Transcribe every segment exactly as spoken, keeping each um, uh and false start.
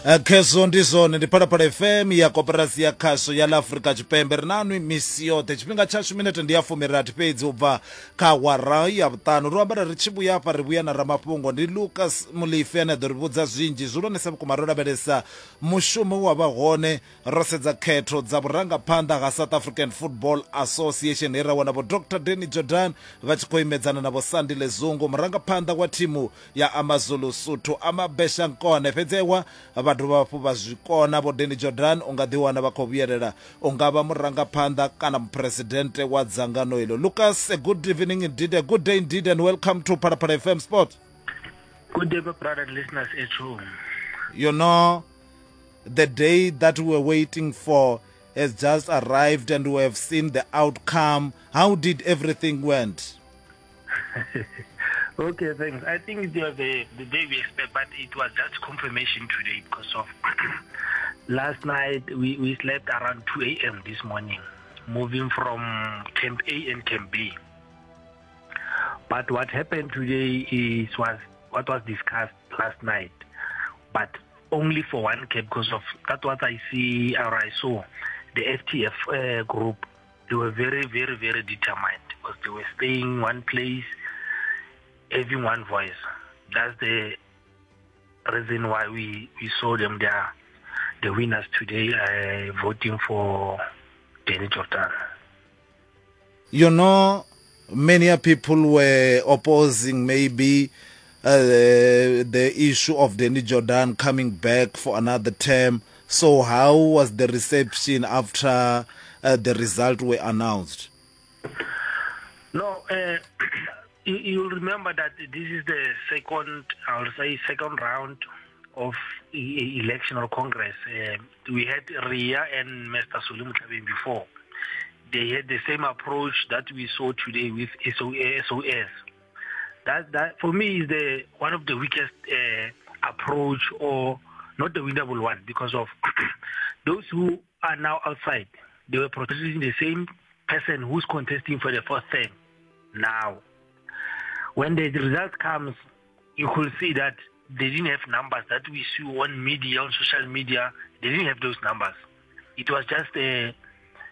Khezwo ndi zwone ndi Phalaphala F M ya Koporasi ya Khasho ya ḽa Afrika Tshipembe. Ri na nwi misi yoṱhe tshifhinga tshashu minete ndi ya fumirathi fhedzi u bva kha awara ya vhuṱanu. Ro amba ri tshi vhuya hafha ri vhuya na ramafhungo ndi Lucas Mulife ane a ḓo ri vhudza zwinzhi zwihulwanesa vhukuma ro lavhelesa mushumo wa vha hone ro sedza khetho dza vhurangaphanḓa ha South African Football Association he ra wana vho Doctor Danny Jordaan vha tshi khou imedzana na vho Sandile Zungu murangaphanḓa wa thimu ya AmaZulu Suthu Amabesha Nkone. Fhedzi ewa vha dovha hafhu vha zwi kona vho Danny Jordaan u nga ḓi wana vha khou vhuyelela u nga vha murangaphanḓa kana muphuresidennde wa dzangano ilo. Lucas, a good evening indeed, a good day indeed, and welcome to Phalaphala F M Sport. Good day, my brother and listeners at home. You know, the day that we were waiting for has just arrived and we have seen the outcome. How did everything went? Okay, thanks. I think it was the, the day we expect, but it was just confirmation today because of last night we, we slept around two A M this morning, moving from Camp A and Camp B. But what happened today is was what was discussed last night, but only for one camp because of that what I see or I saw the F T F uh, group. They were very, very, very determined because they were staying one place, having one voice. That's the reason why we, we saw them there, the winners today, uh, voting for Danny Jordaan. You know, many people were opposing maybe uh, the issue of Danny Jordaan coming back for another term. So how was the reception after uh, the result were announced? No, uh, you, you'll remember that this is the second, I will say, second round of election or Congress. Uh, we had R I A and Mister Solly Mothlabeng before. They had the same approach that we saw today with S O S. That, that for me is the one of the weakest uh, approach, or not the winnable one, because of those who are now outside. They were protesting the same person who's contesting for the first time now. When the result comes, you could see that they didn't have numbers that we see on media, on social media. They didn't have those numbers. It was just a,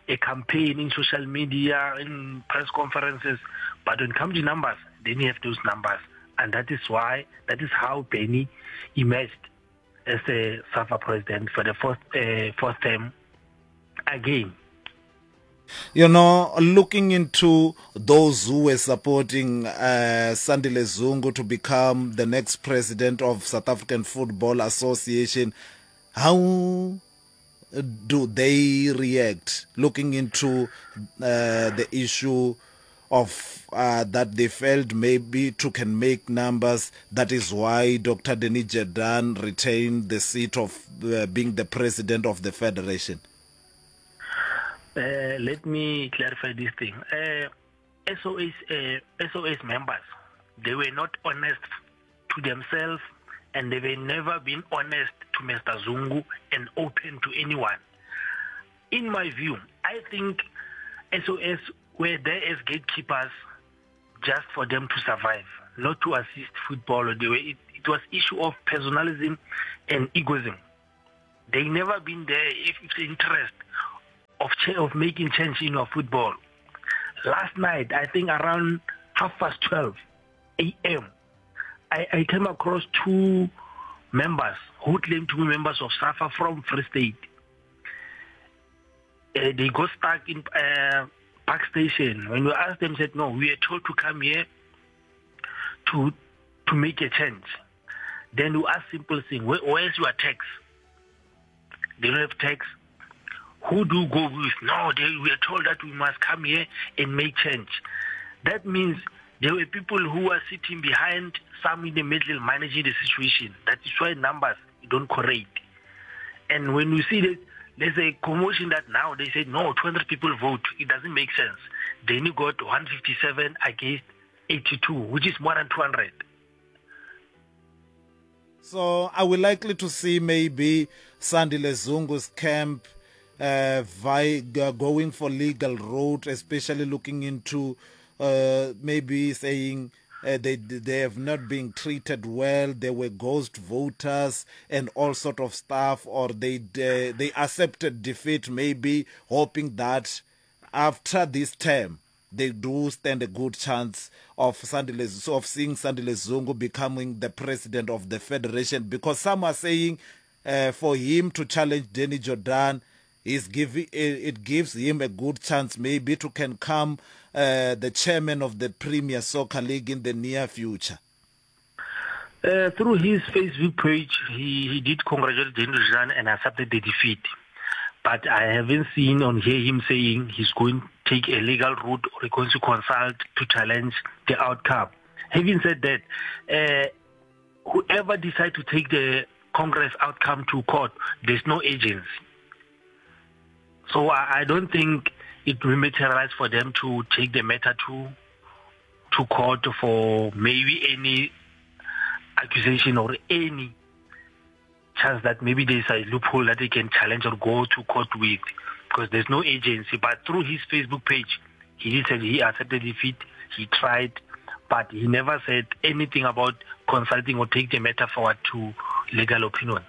a campaign in social media, in press conferences. But when it comes to numbers, they didn't have those numbers. And that is why, that is how Benny emerged as a SAFA president for the first, uh, first time again. You know, looking into those who were supporting uh, Sandile Zungu to become the next president of South African Football Association, how do they react looking into uh, the issue of uh, that they felt maybe to can make numbers? That is why Doctor Danny Jordaan retained the seat of uh, being the president of the federation. Uh, let me clarify this thing. Uh, S O S, uh, S O S members, they were not honest to themselves, and they were never been honest to Mister Zungu and open to anyone. In my view, I think S O S were there as gatekeepers just for them to survive, not to assist football. They were, it, it was issue of personalism and egoism. They never been there if it's interest of of making change in our football. Last night, I think around half past twelve A M, I, I came across two members who claimed to be members of SAFA from Free State. Uh, they got stuck in uh, Park Station. When we asked them, said, no, we are told to come here to to make a change. Then we asked simple thing, where, where's your tax? They don't have tax. Who do you go with? No, they, we are told that we must come here and make change. That means there were people who were sitting behind, some in the middle, managing the situation. That is why numbers don't correlate. And when you see that, there's a commotion that now they say, no, two hundred people vote. It doesn't make sense. They only got one fifty-seven against eighty-two, which is more than two hundred. So are we likely to see maybe Sandile Zungu's camp Uh, vi- going for legal route, especially looking into uh, maybe saying Uh, they, they have not been treated well. They were ghost voters and all sort of stuff, or they, they, they accepted defeat, maybe hoping that after this term they do stand a good chance of Sandile, of seeing Sandile Zungu becoming the president of the federation. Because some are saying uh, for him to challenge Danny Jordaan, is giving, it gives him a good chance maybe to can come uh, the chairman of the Premier Soccer League in the near future. Uh, through his Facebook page, he, he did congratulate Danny Jordaan and accepted the defeat. But I haven't seen or hear him saying he's going to take a legal route or he's going to consult to challenge the outcome. Having said that, uh, whoever decides to take the Congress outcome to court, there's no agency. So I, I don't think it will materialize for them to take the matter to, to court for maybe any accusation or any chance that maybe there's a loophole that they can challenge or go to court with, because there's no agency. But through his Facebook page, he did say he accepted defeat, he tried, but he never said anything about consulting or take the matter forward to legal opinion.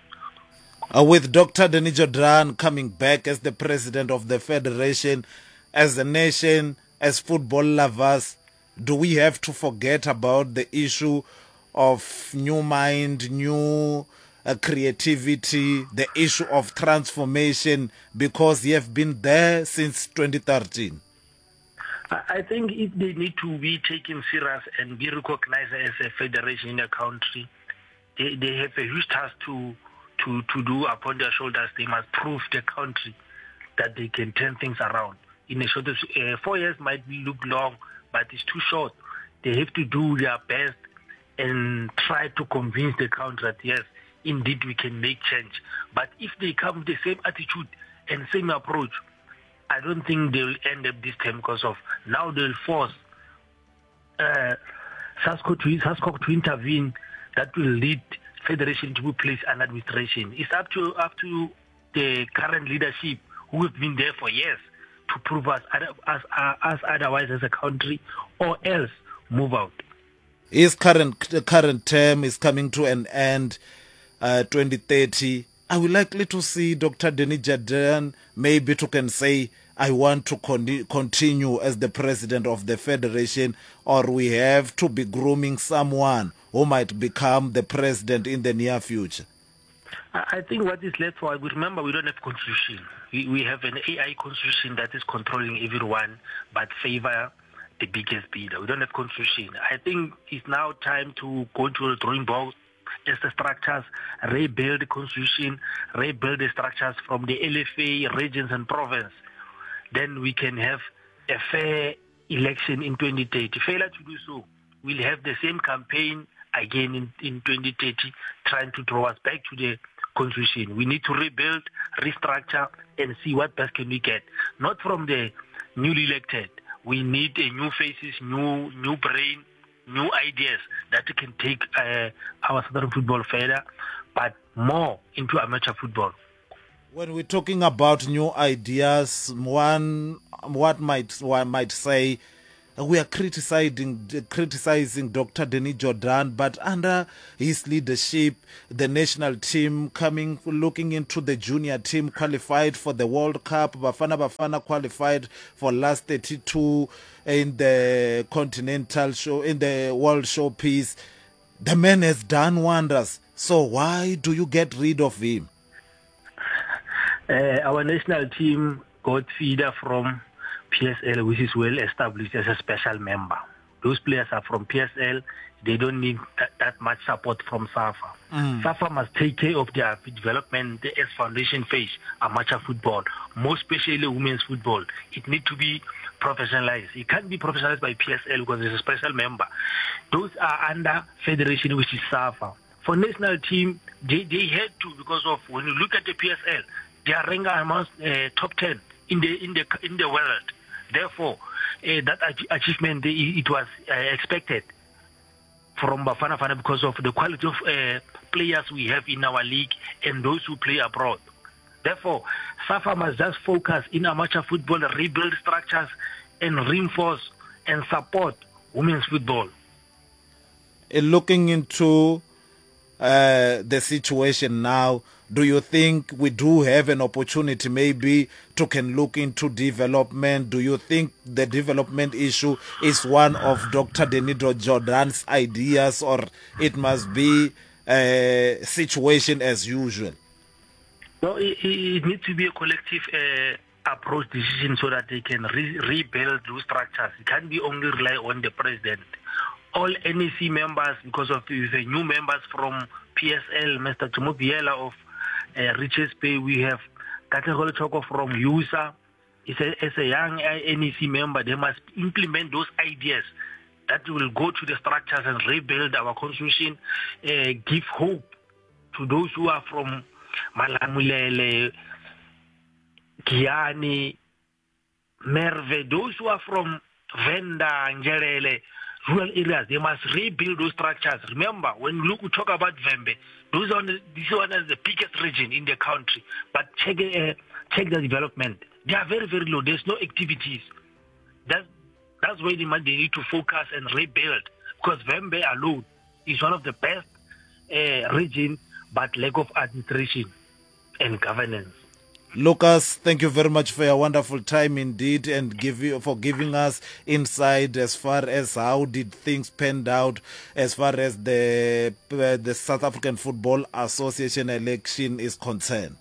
Uh, with Doctor Danny Jordaan coming back as the president of the federation, as a nation, as football lovers, do we have to forget about the issue of new mind, new uh, creativity, the issue of transformation, because you have been there since twenty thirteen? I think if they need to be taken serious and be recognized as a federation in the country, they, they have a huge task to, to, to do upon their shoulders. They must prove the country that they can turn things around. In a short, uh, four years might look long, but it's too short. They have to do their best and try to convince the country that, yes, indeed we can make change. But if they come with the same attitude and same approach, I don't think they will end up this time, because of now they'll force uh, SASCO to, SASCO to intervene. That will lead federation to be placed under administration. It's up to, up to the current leadership, who have been there for years, to prove us, us, us otherwise as a country, or else move out. His current, current term is coming to an end, uh, twenty thirty. Are we likely to see Doctor Danny Jordaan maybe to can say, I want to con- continue as the president of the federation, or we have to be grooming someone who might become the president in the near future? I think what is left for, we remember we don't have constitution. We, we have an A I constitution that is controlling everyone, but favor the biggest bidder. We don't have constitution. I think it's now time to go to the drawing board as the structures, rebuild the constitution, rebuild the structures from the L F A, regions and province. Then we can have a fair election in twenty thirty. Failure to do so, we'll have the same campaign again in, in twenty thirty, trying to draw us back to the constitution. We need to rebuild, restructure, and see what best can we get. Not from the newly elected. We need a new faces, new new brain, new ideas that can take uh, our Southern football further, but more into amateur football. When we're talking about new ideas, one what might one might say, we are criticizing criticizing Doctor Danny Jordaan, but under his leadership, the national team coming looking into the junior team qualified for the World Cup, Bafana Bafana qualified for last thirty-two in the continental show, in the World Showpiece. The man has done wonders. So why do you get rid of him? Uh, our national team got feeder from P S L, which is well established as a special member. Those players are from P S L. They don't need that, that much support from SAFA. Mm. SAFA must take care of their development as foundation phase, amateur football, more especially women's football. It needs to be professionalized. It can't be professionalized by P S L because it's a special member. Those are under federation, which is SAFA. For national team, they, they had to, because of when you look at the P S L, they are ranked amongst uh, top ten in the in the in the world. Therefore, uh, that achievement, it was uh, expected from Bafana Bafana because of the quality of uh, players we have in our league and those who play abroad. Therefore, SAFA must just focus in amateur football, rebuild structures, and reinforce and support women's football. Looking into uh, the situation now, do you think we do have an opportunity maybe to can look into development? Do you think the development issue is one of Doctor Danilo Jordan's ideas, or it must be a situation as usual? No, it, it needs to be a collective uh, approach decision so that they can re- rebuild those structures. It can't be only rely on the president. All N E C members, because of the new members from P S L, Mister Jomo Biela of uh, Richards Bay, we have Katlego Choko from U S A. As a, as a young N E C member, they must implement those ideas that will go to the structures and rebuild our constitution, uh, give hope to those who are from Malamulele, Giyani, Merve, those who are from Venda, Ngerele, rural areas. They must rebuild those structures. Remember, when we talk about Vhembe, those are the, this one is the biggest region in the country. But check uh, check the development. They are very, very low. There's no activities. That's, that's where they, they need to focus and rebuild, because Vhembe alone is one of the best uh, region, but lack of administration and governance. Lucas, thank you very much for your wonderful time indeed, and give you, for giving us insight as far as how did things panned out as far as the uh, the South African Football Association election is concerned.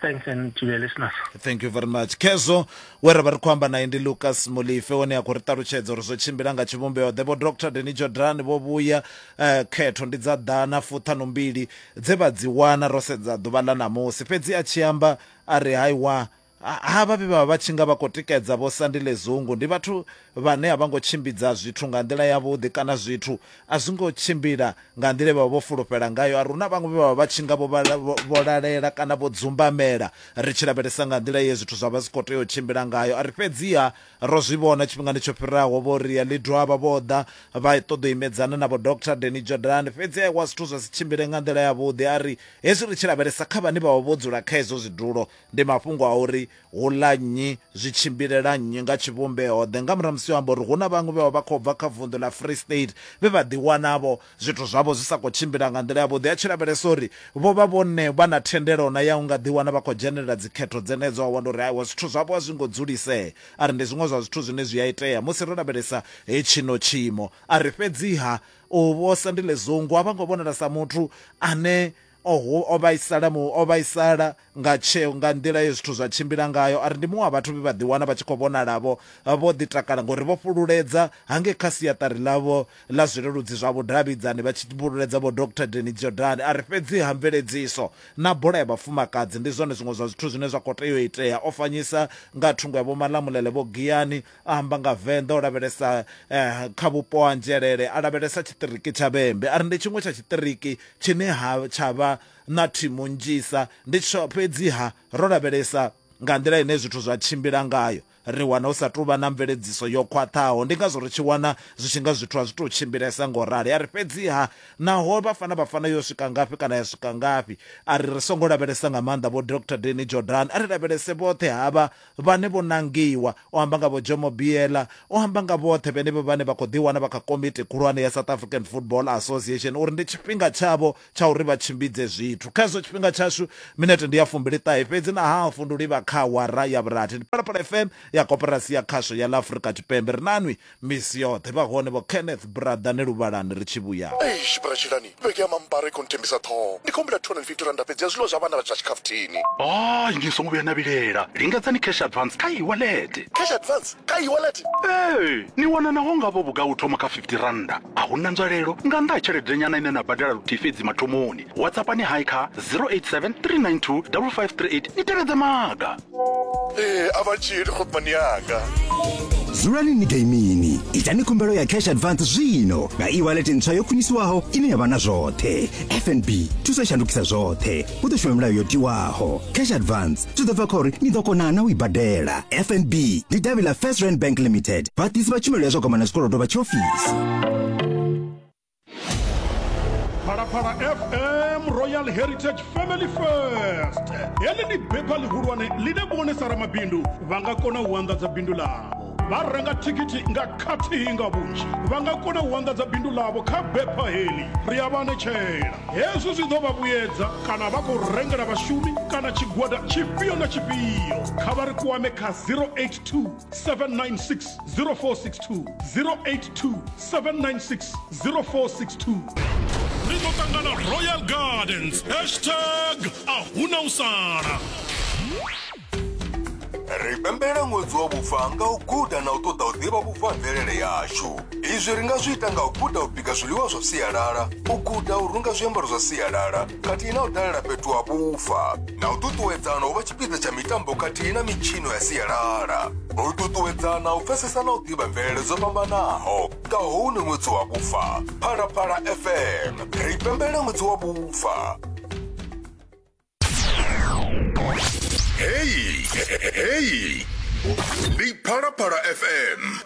Thanks, and to the listeners. Thank you very much. Kezo, we re khou amba naye ndi Lucas Molefe, one a khou ri ṱalutshedza uri zwo tshimbila nga tshivhumbeo ḓe. Vho Doctor Danny Jordan vho vhuya uh, khetho ndi dza ḓana fuṱhanumbili dze vha dzi wana ro sedza ḓuvha ḽa ṋamusi. Fhedzi a tshi amba a ri haiwa, havha vhe vha vha tshi nga vha khou tikedza Vho Sandile Zungu ndi vhathu vhane a vha ngo tshimbidza zwithu nga nḓila yavhuḓi, kana zwithu a zwi ngo tshimbila nga nḓila vha vho fulufhela ngayo. A ri huna vhaṅwe vhe vha vha tshi nga vho lalela kana vho dzumbamela ri tshi lavhelesa nga nḓila ye zwithu zwa vha zwi khou tea u tshimbila ngayo. A ri fhedziha ro zwi vhona tshifhingani tsho fhiraho vho ri Lidwaba vho ḓa vha ṱoḓa u imedzana na vho Doctor Danny Jordan, fhedzi wa zwithu zwa si tshimbile nga nḓila yavhuḓi. A ri hezwi ri tshi lavhelesa kha vhane vha vha vho dzula kha izwo zwidulo ndi mafhungo a uri hula nnyi zwi tshimbilela nnyi nga tshivhumbeo ḓe. Nga murahu musi amba uri hu na vhaṅwe vhe vha vha khou bva kha vunḓu ḽa Free State vhe vha ḓiwanavho zwithu zwavho zwi sa khou tshimbila nga nḓila yavhuḓi, a tshi lavhelesa uri vho vha vhone vha na thendelo na ya u nga ḓiwana vha khou dzhenelela dzikhetho dzenedzo, a wana uri aiwa zwithu zwavho a zwi ngo dzulisea. A ri ndi zwiṅwe zwa zwithu zwine zwi a itea musi ro lavhelesa hetshino tshiimo. A ri fhedziha u Vho Sandile Zungu a vha ngo vhonala sa muthu ane o vhaisala mu o vhaisala nga tsheo nga nḓila ye zwithu zwa tshimbila ngayo. A ri ndi muṅwe wa vhathu vhe vha ḓiwana vha tshi khou vhonala-vho vho ḓi takala ngori vho fhululedza hangei kha siaṱari ḽavho ḽa zwileludzi zwa vhudavhidzani vha tshi fhululedza vho Doctor Danny Jordan. A ri fhedzi ha mveledziso na bola ya vhafumakadzi ndi zwone zwiṅwe zwa zwithu zwine zwa khou tea u itea. O fanyisa nga thungo ya Vho Malamulele Vho Giyani, a amba nga Venḓa, o lavhelesa eh, kha vhupo ha Nzhelele, a lavhelesa tshiṱiriki tsha Vhembe. A ri ndi tshiṅwe tsha tshiṱiriki tshine ha tsha vha na thimu nnzhisa, ndi fhedziha ro lavhelesa nga nḓila ine zwithu zwa tshimbila ngayo ri wana hu sa tou vha na mveledziso yo khwaṱhaho, ndi ngazwo ri tshi wana zwi tshi nga zwithu a zwi tou tshimbilesa ngo rali. A ri fhedziha naho Bafana Bafana yo swika ngafhi kana ya swika ngafhi, a ri ri songo lavhelesa nga maanḓa vho Doctor Danny Jordan, a ri lavhelese vhoṱhe havha vhane vho nangiwa. O amba nga vho Jomo Biela, o amba nga vhoṱhe vhenevho vhane vha khou ḓiwana vha kha komiti khulwane ya South African Football Association uri ndi tshifhinga tshavho tsha uri vha tshimbidze zwithu. Kha hezwo tshifhinga tshashu minete ndi ya fumbili ṱahe fhedzi na hafu ndi u livha kha awara ya vhurathi. Ndi Phalaphala F M ya Koporasi ya Khasho ya ḽa Afrika Tshipembe. Ri nanwi misi yoṱhe vha hone vho Kenneth Brother ne Luvhalani ri tshi vhuya. Eish Brachilani, vhege ya mampara i khou nthembisa ṱhoho. Ndi khou humbela two hundred and fifty randa fhedzi ya zwiḽiwa zwa vhana vha tsha tshikhafuthini. Hayi, ni songo vhuya na vhilela. Lingedzani cash advance kha e-wallet. Cash advance kha e-wallet? Ee, ni wana naho nga vho vhuga u thoma kha fifty randa. A huna nzwalelo nga nnḓa ha tshelede nyana ine na badela luthihi fhedzi mathomoni. WhatsApp ni hai kha zero eight seven three nine two five five three eight ni tevhedze maga. Ee, a vha dzhieli khotmani yanga. Dzulani ni gaimini, itani khumbelo ya cash advance zwino nga e-wallet ntswa yo khwiniswaho ine ya vha na zwoṱhe. F N B thuso i shandukisa zwoṱhe, hu ḓo shuma milayo yo tiwaho. Cash advance zwi ḓo bva kha uri ni ḓo kona na u i badela. F N B ndi davhi ḽa First Rand Bank Limited, vhaḓisi vha tshumelo ya zwa gwama na zwikolodo vha tshiofisi. Phalaphala F M Royal Heritage Family First. Heḽi ndi bepha ḽihulwane ḽine vhone sa ramabindu vha nga kona u anḓadza bindu ḽavho. Vha renga thikhithi nga khathihi nga vhunzhi, vha nga kona u anḓadza bindu ḽavho kha bepha heḽi. Ri a vha anetshela hezwi zwi ḓo vha vhuyedza kana vha khou rengela vhashumi kana tshigwada tshifhio na tshifhio. Kha vha ri kwame kha zero eight two seven nine six zero four six two, zero eight two seven nine six zero four six two. Ri ḓo ṱangana Royal Gardens, hashtag a huna u sala. Ri pembela ṅwedzi wa vhufa nga u guda na u ṱoḓa u ḓivha vhufa ha mvelele yashu. Izwi ri nga zwi ita nga u guda u bika zwiḽiwa zwa sialala, u guda u runga zwiambaro zwa sialala, khathihi na u dalela fhethu ha vhufa, na u ṱuṱuwedzana u vha tshipiḓa tsha mitambo khathihi na mitshino ya sialala. U ṱuṱuwedzana u pfesesa na u ḓivha mvelele dzo fhambanaho nga houno ṅwedzi wa vhufa. Phalaphala F M, ri pembela ṅwedzi wa vhufa. Hey, hey, ndi Phalaphala F M.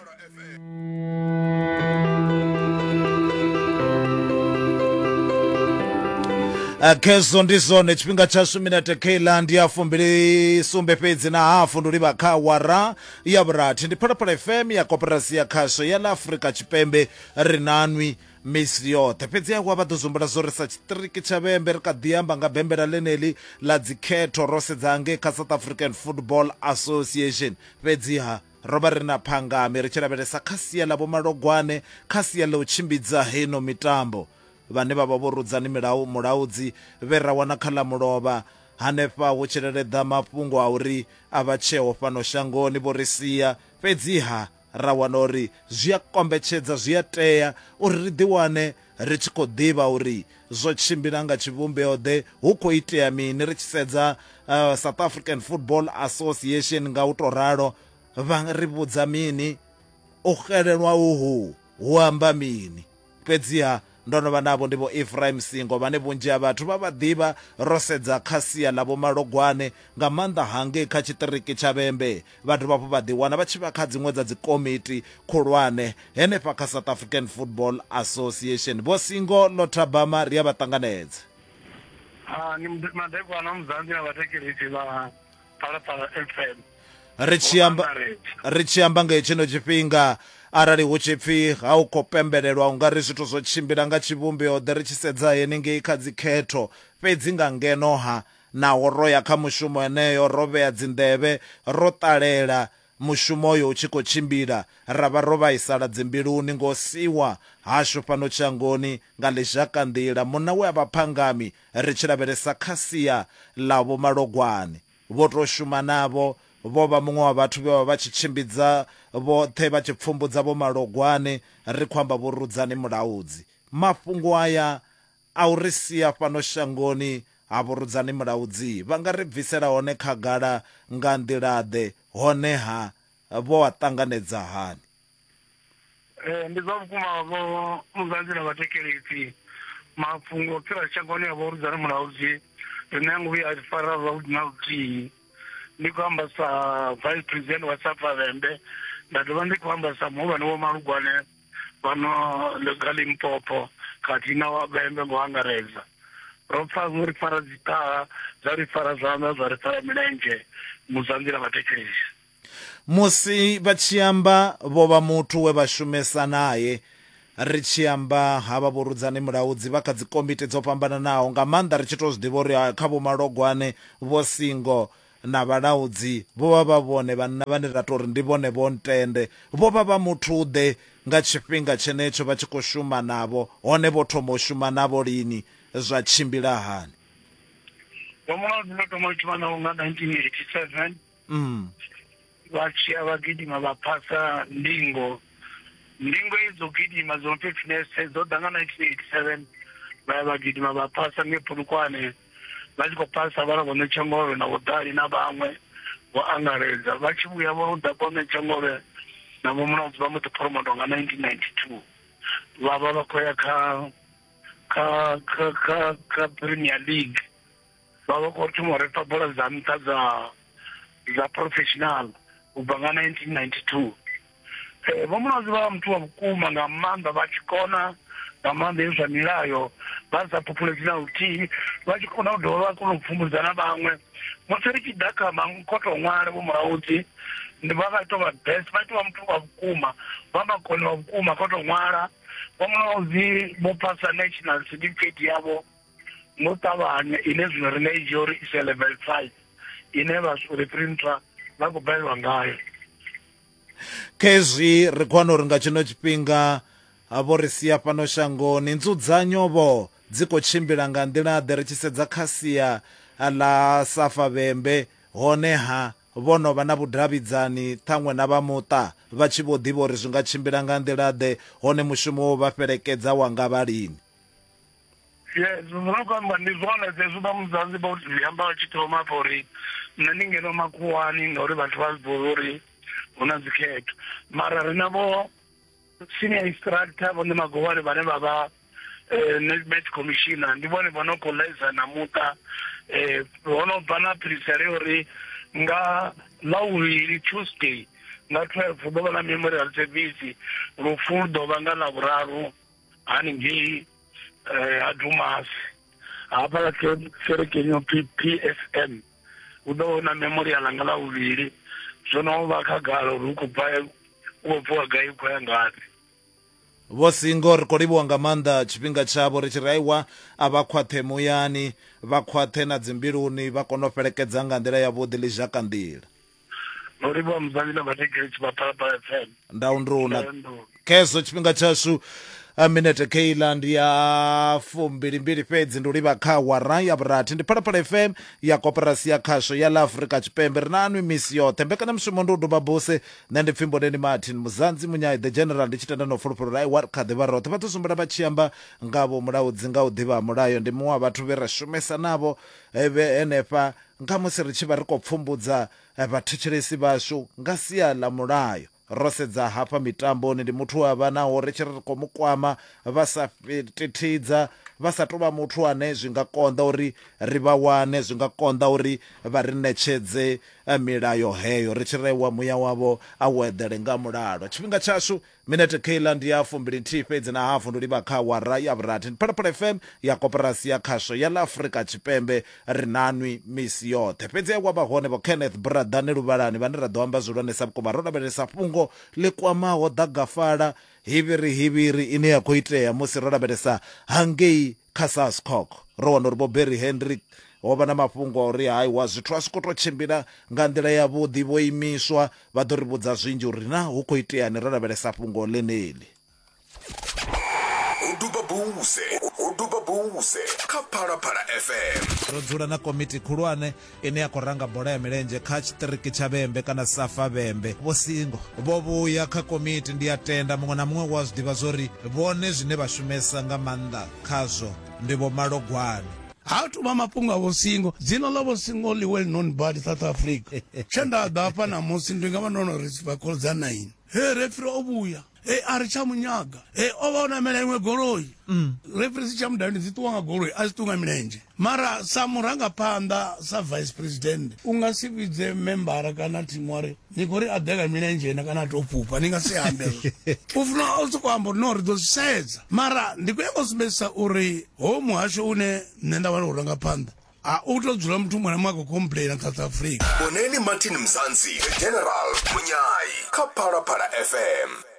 Kezo ndi zwone tshifhinga tshashu minete keiḽa ndi ya fumbili sumbe fhedzi na hafu ndi livha kha awara ya vhurathi. Ndi Phalaphala F M ya Koporasi ya Khasho ya ḽa Afrika Tshipembe, ri nanwi misi yoṱhe. Fhedzi awa vha ḓo zumbula zwo ri sa tshiṱiriki tsha Vhembe ri kha ḓi amba nga bembela ḽeneḽi ḽa dzikhetho ro sedza ngei kha South African Football Association. Fhedziha ro vha ri na phangami ri tshi lavhelesa kha sia ḽa Vhomalogwane, kha sia ḽa u tshimbidza heino mitambo, vhane vha vha vho Rudzani Milau Mulaudzi vhe ra wana kha ḽa mulovha hanefha hu tshi leleḓa mafhungo a uri a vha tsheho fhano shangoni vho ri sia. Fhedziha ra wana uri zwi a kombetshedza, zwi a tea uri ri ḓiwane ri tshi khou ḓivha uri zwo tshimbila nga tshivhumbeo ḓe, hu khou itea mini ri tshi sedza uh, South African Football Association nga u to ralo vha ri vhudza mini, u xelelwa uhu hu amba mini. Fhedziha ndo no vha navho ndi vho Ephraim Singo vhane vhunzhi ha vhathu vha vha ḓivha ro sedza kha sia ḽa Vhomalogwane nga maanḓa hangei kha tshiṱiriki tsha Vhembe. Vha dovha hafhu vha ḓiwana vha tshi vha kha dziṅwe dza dzikomiti khulwane henefha kha South African Football Association. Vho Singo Lothabama ri a vha ṱanganedza. Ah, ni madekwana Mzansi na vhathetshelesi vha Phalaphala F M. Ri tshi amba ri tshi amba nga tshino tshifhinga arali hu tshi pfi ha u khou pembelelwa u nga ri zwithu zwo tshimbila nga tshivhumbeo ḓe ri tshi sedza henengei kha dzikhetho, fhedzi nga ngeno ha naho ro ya kha mushumo heneyo ro vhea dzinḓevhe ro ṱalela mushumo uyo u tshi khou tshimbila, ra vha ro vhaisala dzimbiluni ngo siwa hashu fhano shangoni nga ḽizhakanḓila munna we a vha phangami ri tshi lavhelesa kha sia ḽa Vhomalogwane. Vho to shuma navho, vho vha muṅwe wa vhathu vhe vha vha tshi tshimbidza vhoṱhe vha tshi pfumbudza Vhomalogwane, ri khou amba Vho Rudzani Mulaudzi. Mafhungo aya a u ri sia fhano shangoni ha Vho Rudzani Mulaudzi vha nga ri bvisela hone khagala nga nḓila-ḓe, honeha vho a ṱanganedza hani? Eh, ndi zwa vhukuma vho Mzansi na vhathetshelesi, mafhungo fhira shangoni ya Vho Rudzani Mulaudzi rine a ngo vhuya a fara zwavhuḓi na luthihi. Ndi khou amba sa vice president wa Safa Vhembe, nda dovha ndi khou amba sa muhulwane wa Malugwane fhano ga Limpopo khathihi na wa Vhembe ngo angaredza. Ro pfa zwo ri fara dziṱaha, zwa ri fara zwanḓa, zwa ri fara milenzhe, Muzanzi na vhathetshelesi. Musi vha tshi amba vho vha muthu we vha shumesa naye, ri tshi amba havha Vho Rudzani Mulaudzi vha kha dzikomiti dzo fhambananaho nga maanḓa ri tshi to zwi ḓivha uri kha Vhomalogwane Vho Singo na vhalaudzi vho vha vha vhone vhanna vhane ra tou ri ndi vhone vho ntende. Vho vha vha muthu ḓe nga tshifhinga tshenetsho vha tshi khou shuma navho, hone vho thoma u shuma navho lini, zwa tshimbila hani? Vho Mulaudzi ndo thoma u shuma navho nga nineteen eighty seven. Mm. Vha tshiya vha gidima vha phasa ndingo. Ndingo idzo gidima dzo fitness dzo ḓa nga nineteen eighty seven, vha ya vha gidima vha phasa nge Polokwane. Vha tshi khou phasa vha vho Ṋetshengove na Vho Dali na vhaṅwe vho angaredza. Vha tshi vhuya vho ḓa kwa Ṋetshengove na Vho Mulaudzi vha mbo ḓi promotwa nga nineteen ninety two. Vha vha vha khou ya kha kha kha kha kha Premier League. Vha vha khou thoma u refa bola dza nṱha dza dza professional u bva nga nineteen ninety two. Eh, Vho Mulaudzi vha vha muthu wa vhukuma nga maanḓa, vha tshi kona nga maanḓa hezwi zwa milayo vha sa phuphuledzi na luthihi, vha tshi kona u dovha vha kona u pfumbudza na vhaṅwe. Musi ri tshi ḓa kha makhoto ṅwale vho Mulaudzi ndi vha vha tou vha best, vha tou vha muthu wa vhukuma, vha makone wa vhukuma kho tou ṅwala. Vho Mulaudzi vho phasa national certificate yavho ngo ṱavhanya, ine zwino ri nga i dzhia uri ise level five ine vha reprinter vha khou balelwa ngayo. Khezwi ri khou wana uri nga tshino tshifhinga vho ri sia fhano shangoni, nzudzanyo vho dzi khou tshimbila nga nḓila ḓe ri tshi sedza kha sia ḽa Safa Vhembe, honeha vho no vha na vhudavhidzani ṱhaṅwe na vha muṱa vha tshi vho ḓivha uri zwi nga tshimbila nga nḓila ḓe, hone mushumo wo vha fhelekedza wa nga vha lini? Yes, zwo khou amba ndi zwone zwezwi vha Muzanzi vha zwi amba vha tshi thoma afha uri nṋe ndi ngeno makhuwani ngauri vhathu vha zwi ḓivha uri hu na dzikhetho, mara ri na vho senior instructor vho Ṋemagovhani vhane vha vha match commissioner, ndi vhone vho no khou ḽaisa na muṱa. Eh ho no bva na phirisele uri nga ḽavhuvhili Tuesday nga twelve hu ḓo vha na memorial service, lufu lu ḓo vha nga ḽavhuraru haningei ha Dumasi hafhaḽa kerekeni yo pfi P S M, hu ḓo vha hu na memorial nga ḽavhuvhili. Zwo no vha khagala uri hu khou bva u khou bviwa gai u khou ya ngafhi. Vho Singo, ri khou livhuwa nga maanḓa tshifhinga tshavho, ri tshi raiwa a vha khwaṱhe muyani, vha khwaṱhe na dzimbiluni, vha kone u fhelekedza nga nḓila yavhuḓi ḽizhaka nḓila. No livhuwa Muzanzi na vhathetshelesi vha Phalaphala F M. Ndaunduna khezwo tshifhinga tshashu minete keiḽa ndi ya fumbilimbili fhedzi, ndi u livha kha awara ya vhurathi. Ndi Phalaphala F M ya koporasi ya khasho ya ḽa Afrika Tshipembe. Ri na anwi misi yoṱhe. Mbekanyamushumo ndi u duba buse, nṋe ndi pfi Mboneni Martin Muzanzi Munyai the General, ndi tshi tenda na u fulufhela uri aiwa kha ḓivha roṱhe. Vha ḓo sumbela vha tshi amba nga vho Mulaudzi nga u ḓivha mulayo, ndi muṅwe wa vhathu vhe ra shumesa navho vhe henefha nga musi ri tshi vha ri khou pfumbudza vhathetshelesi vhashu nga sia ḽa mulayo. Ro sedza hafha mitamboni, ndi muthu wa vha naho ri tshi ri khou mu kwama vha sa thithidza, vha sa tou vha muthu ane zwi nga konḓa uri ri vha wane, zwi nga konḓa uri vha ri ṋetshedze milayo heyo. Ri tshi rewa muya wavho a u eḓele nga mulalo. Tshifhinga tshashu minete keiḽa ndi ya fumbili nthihi fhedzi na hafu, ndi livha kha awara ya vhurathi. Ndi Phalaphala F M ya koporasi ya khasho ya ḽa Afrika Tshipembe. Ri nanwi misi yoṱhe. Fhedzi wa vha hone vho Kenneth Bradane Luvhalani vhane ra ḓo amba zwihulwanesa vhukuma ro lavhelesa fhungo ḽi kwamaho ḓagafala hivhiri hivhiri ine ya khou itea musi ro lavhelesa hangei kha Sascoc. Ro wana uri vho Barry Hendrick ho vha na mafhungo a uri haiwa zwithu a zwi khou tou tshimbila nga nḓila yavhuḓi, vho imiswa. Vha ḓo ri vhudza zwinzhi uri na hu khou iteani ro lavhelesa fhungo ḽeneḽi. U duba buse, u duba buse kha Phalaphala F M. Ro dzula na komiti khulwane ine ya khou ranga bola ya milenzhe kha tshiṱiriki tsha Vhembe kana Safa Vhembe. Vho Singo vho vhuya kha komiti, ndi a tenda muṅwe na muṅwe wa zwi ḓivha zwori vhone zwine vha shumesa nga maanḓa khazwo ndi vho Malogwane. Ha tu vha mafhungo a Vho Singo, dzina ḽa Vho Singo ḽi well known bad South Africa. Tshe nda ḓa hafha ṋamusi ndi nga vha ndo no receive call dza nine. He referee o vhuya, he a ri tsha munyaga, he o vha o namela iṅwe goloi. Referee si tsha mudavhi dzi ṱuwa nga goloi, a si ṱuwa nga milenzhe. Mara sa murangaphanḓa sa vice president u nga si vhidze membara kana thimu wari ni khou ri a ḓe nga milenzhe na kana a tou fhufha, ni nga si ambe hezwo. U funa o sokou amba uri no ri ḓo zwi sedza. Mara ndi khou nyanga u sumbedzisa uri ho muhasho une nṋe nda vha ndo u ranga phanḓa a u tou dzula muthu muṅwe na muṅwe a khou complaina South Africa. Mboneni Martin Mzansi, The General Munyai kha Phalaphala F M.